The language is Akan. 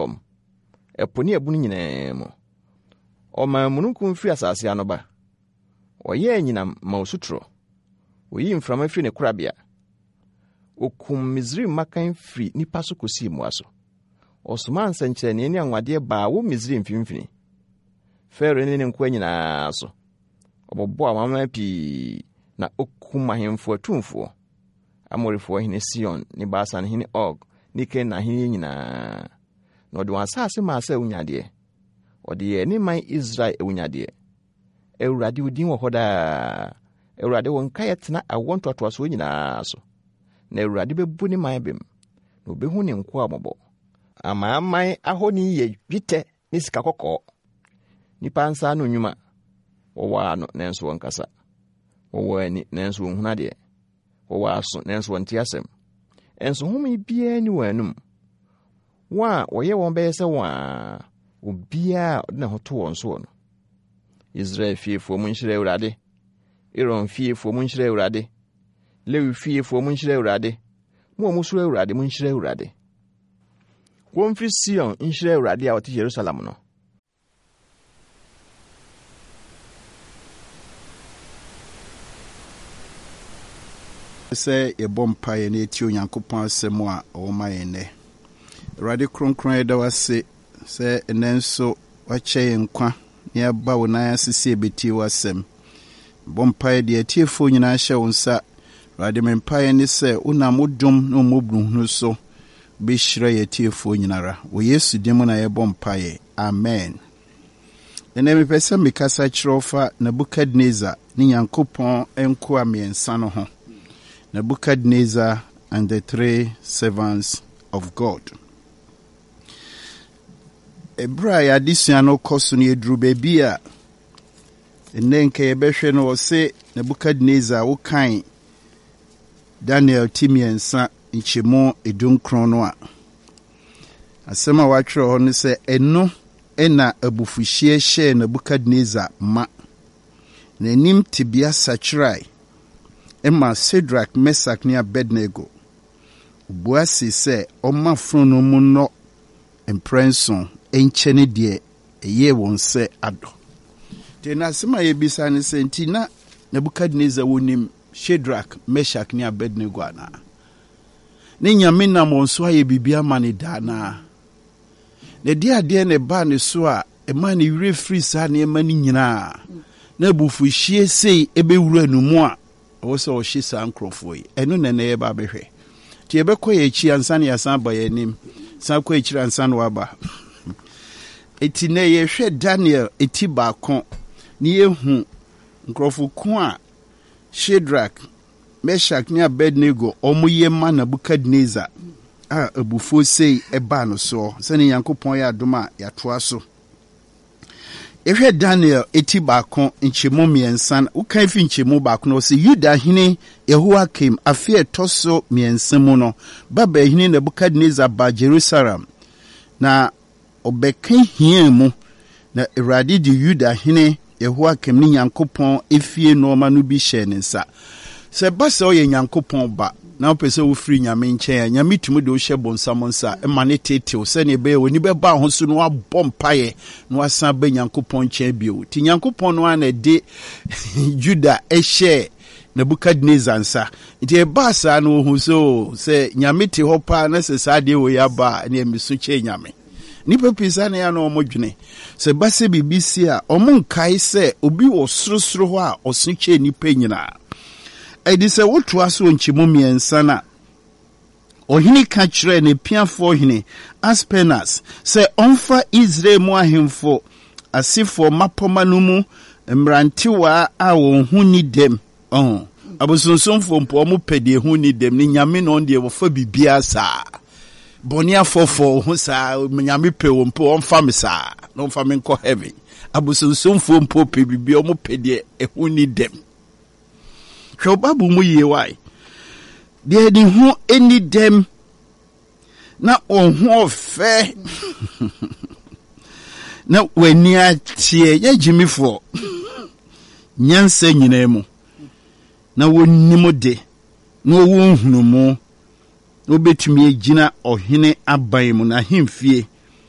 fam, ɛpo ne abunu nyinaa mu. Ɔmaa mununkum firi asase ano ba. Ɔyɛɛ anyinam ma osutorɔ. Oyii mframa firi ne korabea. Okum Misraim mmakan firi nnipa so kosii mmoa so. Ɔsomaa nsɛnkyerɛnneɛ ne anwanwadeɛ baa wɔ Misraim mfimfini. Farao ne ne nkoa nyinaa so. Ɔbobɔɔ amanaman pii na okum ahemfo atumfoɔ. Amorifoɔ hene Sion ne Basan hene Og ne Kanaan ahenni nyinaa. Na ɔde wɔn asase maa sɛ awunyadeɛ. Ɔde yɛɛ ne man Israel awunyadeɛ. Awurade, wo din wɔ hɔ daa. Awurade, wo nkaeɛ tena awoɔ ntoatoasoɔ nyinaa so. Na Awurade bɛbu ne man bem, na ɔbɛhu ne nkoa mmɔbɔ. Amanaman ahoni yɛ dwetɛ ne sika kɔkɔɔ. Nnipa nsa ano nnwuma. Wɔwɔ ano, nanso wɔnkasa. Wɔwɔ ani, nanso wɔnhunu adeɛ. Wɔwɔ aso, nanso wɔnte asɛm. Nso home biara nni wɔn anom. Wɔn a wɔyɛ wɔn bɛyɛ sɛ wɔn a obiara a ɔde ne ho to wɔn soɔ no. Israel fiefoɔ mu nhyira Awurade. Aaron fiefoɔ mu nhyira Awurade. Lewi fiefoɔ mu nhyira Awurade. Mo a mosuro Awurade mu nhyira Awurade. Wɔmfiri Sion nhyira Awurade a ɔte Yerusalem no. Sɛ yɛbɔ mpaeɛ na yɛtie Onyankopɔn asɛm a ɔwɔ ma yɛn nnɛ. Awurade Kronkron yɛda wo ase sɛ ɛnnɛ nso wakyɛ yɛn nkwa na yɛaba wo nan ase sɛ yɛbɛtie w'asɛm. Bɔ mpaeɛ deɛ atiefoɔ nyinaa hyɛ wo nsa. Awurade me mpaeɛ ne sɛ wonam wo dom ne wo mmɔborɔhunu so bɛhyira yɛn atiefoɔ nyinara. Wɔ Yesu din mu na yɛbɔ mpaeɛ. Amen. Ɛnnɛ mepɛ sɛ mekasa kyerɛ wo fa Nebuchadnezzar ne Nyankopɔn nkoa mmiɛnsa no ho. Nebuchadnezzar and the three servants of God. Ɛberɛ a yɛadesua no kɔ so no yɛduru baabi a ɛnnɛ nka yɛbɛhwɛ no ɔse Nebuchadnezzar wokan Daniel ti mmiɛnsa nkyɛmu edunkron no a Asɛm a wɔatwerɛ hɔ ne sɛ, Ɛno na abufuhyeɛ hyɛɛ Nebukadnesar ma. N'anim tebea sakyerae ma Sadrak, Mesak ne Abednego. Ɔbua see sɛ ɔmma fononoo mu nnɔ mprɛnson nkyɛne deɛ ɛyɛɛ wɔn sɛ adɔ. Nti na asɛm a yɛbisa ne sɛ, nti na Nebukadnesar wɔnim Shadrach, Meshach ne Abednego anaa? Ne Nyame nam wɔn so ayɛ biribi ama no da anaa? Na ɛdeɛ adeɛ na ɛbaa ne so a ɛmaa ne werɛ firii saa nneɛma no nyinaa, na abufuhyeɛ sei ɛbɛwura no mu a ɛwɔ sɛ ɔhye saa nkurɔfoɔ yi? Ɛno na ɛnɛ yɛba abɛhwɛ. Nti yɛbɛkɔ yɛn akyi ansa na yɛasan aba yɛn anim, san kɔ akyiri ansa na waba. Eti nɛ yɛhwɛ Daniel eti baako na yɛhu nkurɔfo ko a Shadrach, Meshach ne Abednego wɔyɛ ma Nebukadnesar a abufuo sei baa no soɔ. Sɛdeɛ Nyankopɔn yɛ adom a yɛatoa so. Yɛhwɛ Daniel eti baako nkyɛmu mmiɛnsa, wokan fi nkyɛmu baako no, ɔsɛ Yuda hene Yehoiakim afe a ɛtɔ so mmiɛnsa mu no, Babel hene Nebukadnesar baa Jerusalem, na Ɔbɛka hiaa mu, na Awurade de Yuda hene Yehoiakim ne Nyankopɔn efie nnoɔma no bi hyɛɛ ne nsa. Sɛ ɛba sɛ woyɛ Nyankopɔn ba na wopɛ sɛ wofiri Nyame nkyɛn a, Nyame tumi de wo hyɛ bonsam nsa ma no tetew sɛdeɛ ɛbɛyɛ w'ani bɛba wo ho so na woabɔ mpaeɛ na woasan aba Nyankopɔn nkyɛn bio. Nti Nyankopɔn no ara na ɛde Juda hyɛɛ Nebukadnesar nsa. Nti ɛbaa saa no wɔhu sɛ o sɛ Nyame te hɔ paa na sɛ saa adeɛ wei aba a ɛneɛ meso kyɛn Nyame. Nnipa pii saa na ɛyɛ a na wɔn dwene. Sɛ ɛba sɛ biribi si a, wɔn nkae sɛ obi wɔ sorosoro hɔ a ɔso kyɛn nnipa nyinaa. Ɛde sɛ wotoa so wɔ nkyɛmu mmiɛnsa no a, Ɔhene ka kyerɛɛ n'apiafoɔ hene Aspenas sɛ ɔmfa Israel mu ahemfo asefoɔ mmapɔmma no mu mmerantewaa a wɔn ho nni dɛm. Ɔho, abosonsomfoɔ mpo, wɔn pɛ deɛ ɛho nni dɛm, ne nyame na ɔno deɛ wɔfa biribiara saa. Bɔne afɔfɔ ho saa, nyame pɛ wɔn mpo, ɔmfa me saa, na ɔmfa me nkɔ heaven. Abosonsomfoɔ mpo pɛ biribiara, wɔn pɛ deɛ ɛho nni dɛm. Hwɛ wo Bible mu yie wae. Deɛ ne ho nni dɛm na wɔn ho ɔfɛ na w'ani ateɛ nyɛ gyimifoɔ nyansa nyinaa mu na wɔnim de na wɔwɔ nhunumu na wɔbɛtumi agyina ɔhene aban mu n'ahemfie.